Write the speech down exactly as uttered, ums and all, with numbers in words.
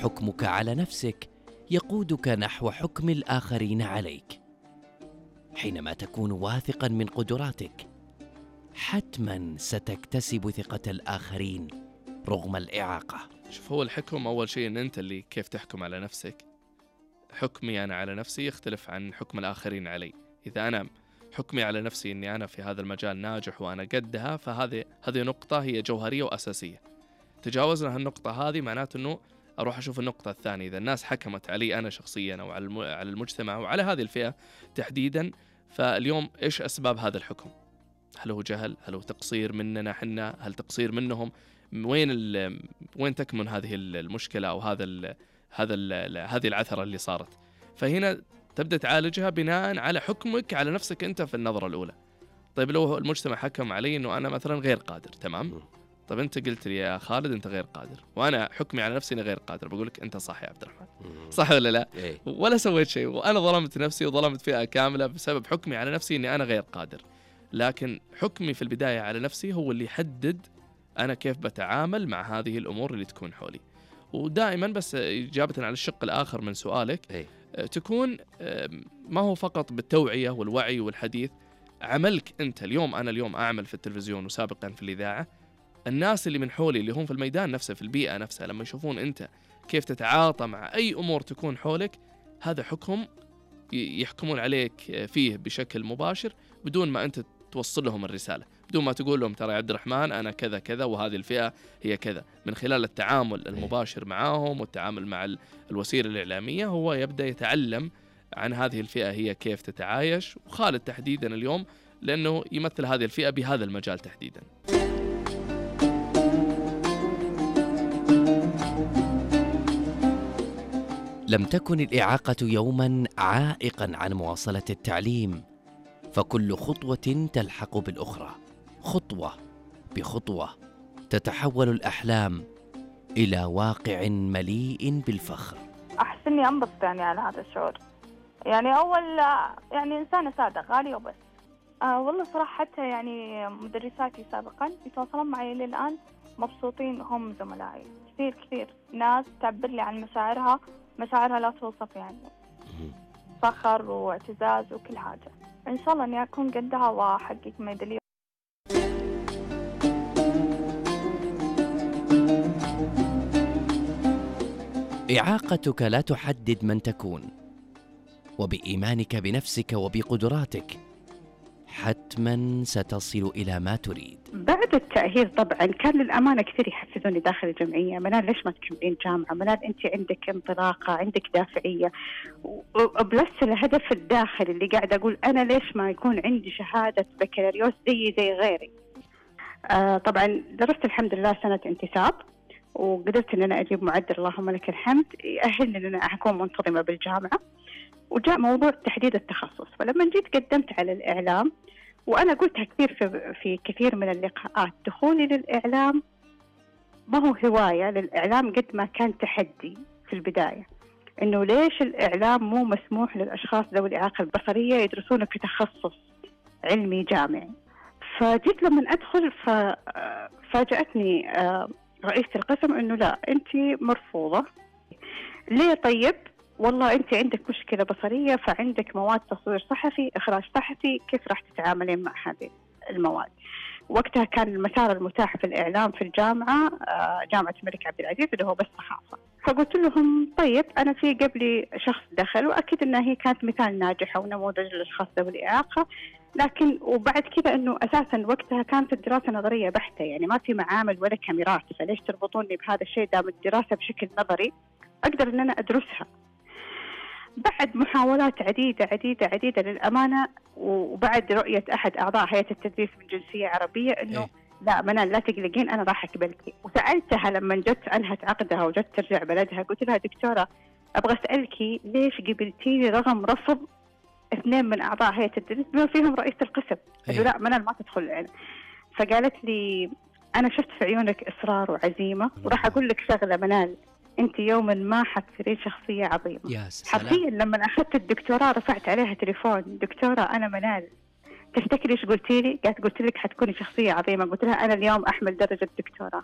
حكمك على نفسك يقودك نحو حكم الآخرين عليك. حينما تكون واثقا من قدراتك حتما ستكتسب ثقة الآخرين رغم الإعاقة. شوف، هو الحكم أول شيء أن أنت اللي كيف تحكم على نفسك. حكمي أنا على نفسي يختلف عن حكم الآخرين علي. إذا أنا حكمي على نفسي أني أنا في هذا المجال ناجح وأنا قدها، فهذه هذه نقطة هي جوهرية وأساسية. تجاوزنا هالنقطة هذه معناته أنه أروح أشوف النقطة الثانية. إذا الناس حكمت علي أنا شخصيا أو على المجتمع وعلى هذه الفئة تحديدا، فاليوم إيش أسباب هذا الحكم؟ هل هو جهل؟ هل هو تقصير مننا حنا؟ هل تقصير منهم؟ وين وين تكمن هذه المشكلة أو هذا ال هذا ال هذه العثرة اللي صارت؟ فهنا تبدأ تعالجها بناء على حكمك على نفسك أنت في النظرة الأولى. طيب لو المجتمع حكم علي إنه أنا مثلا غير قادر، تمام؟ طيب أنت قلت لي يا خالد أنت غير قادر، وأنا حكمي على نفسي أنا غير قادر، بقولك أنت صح يا عبد الرحمن، صح ولا لا؟ ولا سويت شيء، وأنا ظلمت نفسي وظلمت فئة كاملة بسبب حكمي على نفسي إني أنا غير قادر. لكن حكمي في البداية على نفسي هو اللي يحدد أنا كيف بتعامل مع هذه الأمور اللي تكون حولي. ودائما بس إجابة على الشق الآخر من سؤالك، تكون ما هو فقط بالتوعية والوعي والحديث، عملك أنت. اليوم أنا اليوم أعمل في التلفزيون وسابقا في الإذاعة، الناس اللي من حولي اللي هم في الميدان نفسه في البيئة نفسها لما يشوفون أنت كيف تتعاطى مع أي أمور تكون حولك، هذا حكم يحكمون عليك فيه بشكل مباشر بدون ما أنت توصل لهم الرسالة، بدون ما تقول لهم ترى يا عبد الرحمن أنا كذا كذا وهذه الفئة هي كذا. من خلال التعامل المباشر معهم والتعامل مع الوسيلة الإعلامية هو يبدأ يتعلم عن هذه الفئة هي كيف تتعايش. وخالد تحديدا اليوم لأنه يمثل هذه الفئة بهذا المجال تحديدا. لم تكن الإعاقة يوما عائقا عن مواصلة التعليم، فكل خطوة تلحق بالأخرى، خطوة بخطوة تتحول الأحلام إلى واقع مليء بالفخر. أحس إني أنبسط يعني على هذا الشعور. يعني أول يعني إنسانة سادة غالية وبس. آه والله صراحة حتى يعني مدرساتي سابقا يتواصلون معي للآن مبسوطين، هم زملائي كثير كثير ناس تعبر لي عن مشاعرها، مشاعرها لا توصف، يعني فخر واعتزاز وكل حاجة. إن شاء الله إني أكون قدها وأحقق ميدالية. إعاقتك لا تحدد من تكون، وبإيمانك بنفسك وبقدراتك حتما ستصل إلى ما تريد. بعد التأهيل طبعا كان للأمانة كثير يحفزوني داخل الجمعية، منال ليش ما تكملين جامعة، منال أنت عندك انطلاقة، عندك دافعية، وبلس الهدف الداخلي اللي قاعد أقول أنا ليش ما يكون عندي شهادة بكالوريوس زي زي غيري. آه طبعا درست الحمد لله سنة انتساب، وقدرت أن أنا أجيب معدل اللهم لك الحمد يأهلني أن أنا أكون منتظمة بالجامعة. وجاء موضوع تحديد التخصص، فلما جيت قدمت على الإعلام، وأنا قلتها كثير في, في كثير من اللقاءات، دخولي للإعلام ما هو هواية للإعلام قد ما كان تحدي في البداية، إنه ليش الإعلام مو مسموح للأشخاص ذوي الإعاقة البصرية يدرسونه كتخصص علمي جامعي. فجيت لما أدخل ففاجأتني رئيسة القسم إنه لا أنت مرفوضة. ليه؟ طيب والله أنت عندك مشكلة بصرية، فعندك مواد تصوير صحفي، إخراج صحفي، كيف راح تتعاملين مع هذه المواد؟ وقتها كان المسار المتاح في الإعلام في الجامعة جامعة الملك عبد العزيز اللي هو بس صحافة. فقلت لهم طيب أنا في قبلي شخص دخل، وأكيد أنها هي كانت مثال ناجحة ونموذج للأشخاص ذوي الإعاقة، لكن وبعد كذا أنه أساسا وقتها كانت الدراسة نظرية بحتة، يعني ما في معامل ولا كاميرات، فليش تربطوني بهذا الشيء؟ دام الدراسة بشكل نظري أقدر أن أنا أدرسها. بعد محاولات عديدة عديدة عديدة للأمانة، وبعد رؤية أحد أعضاء هيئة التدريس من جنسية عربية إنه إيه؟ لا منال لا تقلقين أنا راح أقبلك. وسألتها لما جت أنهت عقدها وجت ترجع بلدها، قلت لها دكتورة أبغى أسألك ليش قبلتيني رغم رفض اثنين من أعضاء هيئة التدريس بما فيهم رئيس القسم؟ قلت لا منال ما تدخل العلم. فقالت لي أنا شفت في عيونك إصرار وعزيمة، وراح أقول لك شغلة منال، أنت يوما ما حتصيرين شخصية عظيمة. حرفيا لما أخذت الدكتوراه رفعت عليها تليفون، دكتورة أنا منال تفتكري إيش قلتي لي؟ قالت قلت لك حتكوني شخصية عظيمة. قلت لها أنا اليوم أحمل درجة دكتوراه.